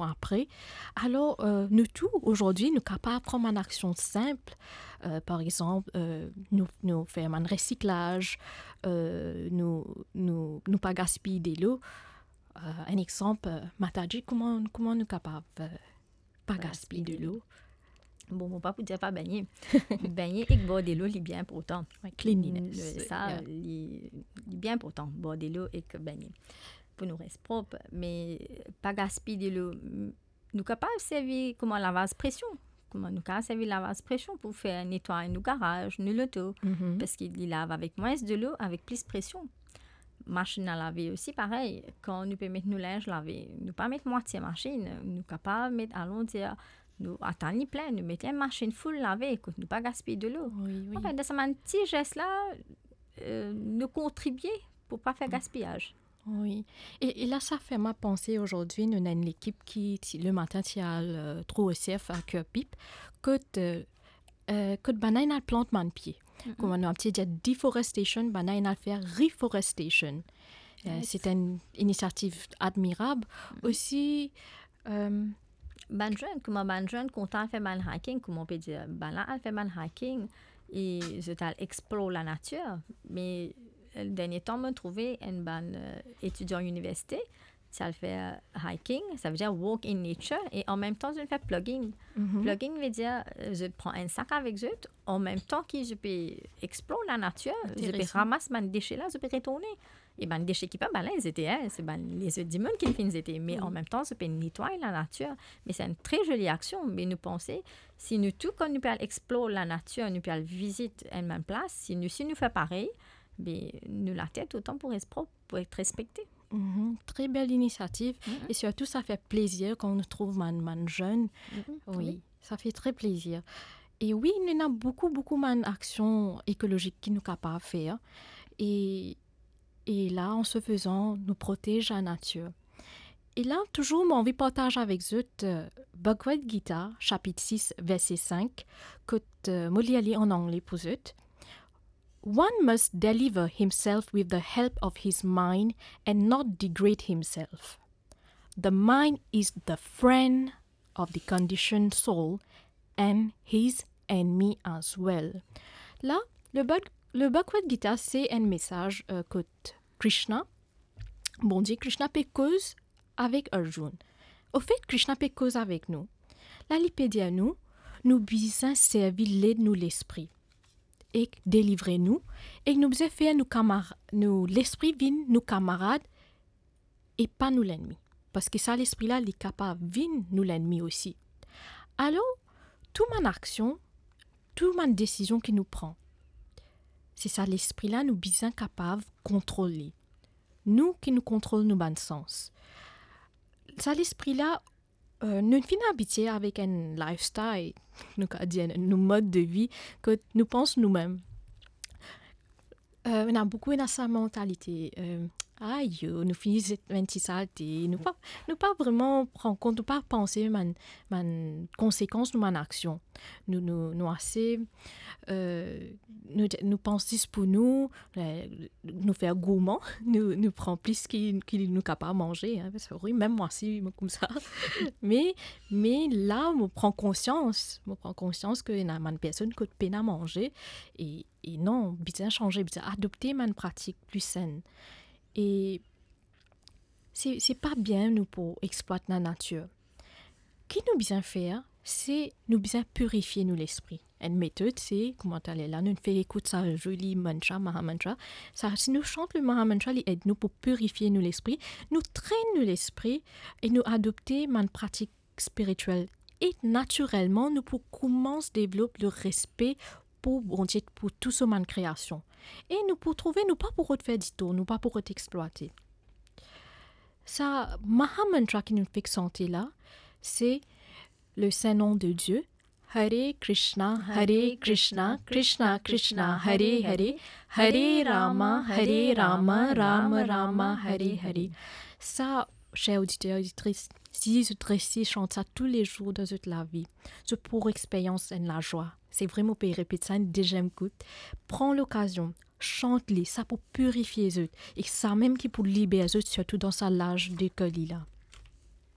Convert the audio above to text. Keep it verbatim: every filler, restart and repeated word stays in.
apre. Alor, euh, nou tou, ozordi, nou kapav pran bann aksion sinp. Euh, par exanp, euh, nou, nou fer bann resiklaz, euh, nou, nou, nou pa gaspiy delo. Euh, enn exanp, euh, Mataji, kouma, kouma nou kapav, euh, pa gaspiy delo? Bon, mo pa pou dir pa begne. Begne ek bwar delo, li bien inportan. Wi, cleanliness. Li, sa, yeah, li, li bien inportan, bwar delo ek begne, pou nou res prop. Me pa gaspiy delo, m-, nou kapav servi kouma lavaz presion. Kouma nou kapav servi lavaz presion pou fer netway nou garaz, nou loto. Mhm. Parski li lav avek mwins delo, avek plis presion. Masinn a lave osi parey, kan nou pe met nou linz lave, nou pa met mwatie masinn, nou kapav met, alon dir, nou atann li plin, nou met enn masinn full lave, kot nou pa gaspiy delo. Wi, wi. Anfin, dan sa bann ti zes la, euh, nou kontribie pou pa fer gaspiyaz. Wi. E, e la, sa fer mwa panse, ozordi, nou ena enn lekip ki ti, lematin, ti al, euh, Tro Osief a Kirpip, kot, euh, euh, kot bann inn al plant bann pie. Mhm. Kouma nou abitie dir deforestation, bann inn al fer reforestation. Euh, se enn inisiativ admirab. Mhm. Osi, euh, bann zenn, kouma bann zenn kontan al fer bann hiking, kouma nou pe dir, bann la al fer bann hiking, e zot al explore lanatir. Me, euh, dernie tan, mo trouve enn bann, euh, etidian iniversite, ti al fer hiking, savedir walk in nature, e anmemtan zot fer plogging. Mhm. Plogging vedir, euh, zot pran enn sak avek zot, anmemtan ki zot pe explore lanatir, zot pe ramas bann dese la, zot pe retourne. E bann dese ki pa bann la zete, hein, se bann lezot dimoun ki finn zete, me anmemtan zot pe netway lanatir. Me se enn tre zoli aksion, me nou panse, si nou tou, kan nou pe al explore lanatir, nou pe al vizit enn bann plas, si nou, si nou fer parey, be, nou later touletan pou res prop, pou et respekte. Mhm, tre bel inisiativ. Mhm. E sirtou, sa fer plezir kan nou trouv bann, bann zenn. Mhm, wi, wi, sa fer tre plezir. E wi, nou ena boukou, boukou bann aksion ekolozik ki nou kapav fer. E, e la, an se fezan, nou protez lanatir. E la, touzour, mo anvi partaz avek zot, euh, Bhagavad Gita, sapit sis, verse sink, kot, euh, mo lir li an angle pou zot. One must deliver himself with the help of his mind and not degrade himself. The mind is the friend of the conditioned soul and his enemy as well. La, le Bhag-, le Bhagavad Gita, se enn mesaz, euh, kot Krishna, Bondie Krishna pe koz avek Arjun. Anfet, Krishna pe koz avek nou. La, li pe dir nou, nou bizin servi led nou lespri ek delivre nou, ek nou bizin fer nou kamar-, nou lespri vinn nou kamarad e pa nou lennmi. Parski sa lespri la, li kapav vinn nou lennmi osi. Alor, tou bann aksion, tou bann desizion ki nou pran, se sa lespri la nou bizin kapav kontrol li. Nou ki nou kontrol nou bann sans. Sa lespri la, euh, nou finn abitie avek enn lifestyle, nou kapav dir nou mod de vi, kot nou pans noumem. Euh, ena boukou ena sa mantalite, euh, ayo, nou fini zet enn ti salte, nou pa, nou pa vreman pran kont, nou pa panse bann, bann konsekans nou bann aksion. Nou, nou, nou ase, euh, nou, nou pans zis pou nou, euh, nou fer gourman, nou, nou pran plis ki, ki nou kapav manze, hein, parski wi, mem mwa si, mo koumsa. Me, me la, mo pran konsians, mo pran konsians ke ena bann personn kot pena manze, e, e non, bizin sanze, bizin adopte bann pratik pli senn. E se, se pa bien nou pou explwat lanatir. Ki nou bizin fer, se nou bizin pirifie nou lespri. Enn metod, se, kouma taler la, nou fer ekout sa zoli mantra, Maha Mantra. Sa, si nou sant le Maha Mantra, li ed nou pou pirifie nou lespri, nou trenn nou lespri e nou adopte bann pratik spiritiel. E natirelman, nou pou koumans devlop le respe pou Bondie, pou tou so bann kreasion. E nou pou trouve, nou pa pou rod fer ditor, nou pa pou rod explwate. Sa Maha Mantra ki nou fek sante la, se le Saint Nom de Dieu, Hare Krishna, Hare Krishna, Krishna Krishna, Hare Hare, Hare Rama, Hare Rama, Rama Rama, Hare Hare. Sa, ser oditer, oditris, si zot resi sant sa toulezour dan zot lavi, zot pou experyans enn lazwa. Se vre, mo pe repet sa enn deziem kout. Pran lokazion, sant li, sa pou pirifie zot, e samem ki pou liber zot, sirtou dan sa laz lekoli la.